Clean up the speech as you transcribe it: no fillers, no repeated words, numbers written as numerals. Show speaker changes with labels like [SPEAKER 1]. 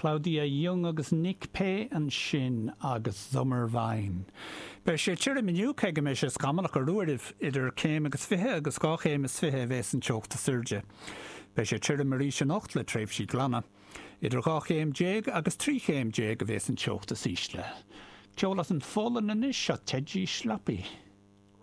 [SPEAKER 1] Claudia Jung agus Nick Pay ansin agus Sommerwein. Beidh sé tirim inniu, cé go mbeidh sé scamallach ar uairibh. Idir céim agus fiche agus 2 chéim is fiche a bhéas an teocht is airde. Beidh sé tirim arís anocht le tréimhsí glana. Idir 12 chéim agus 13 chéim a bhéas an teocht is ísle. Ceol as an Pholainn anois, seo Teddy Schlappy.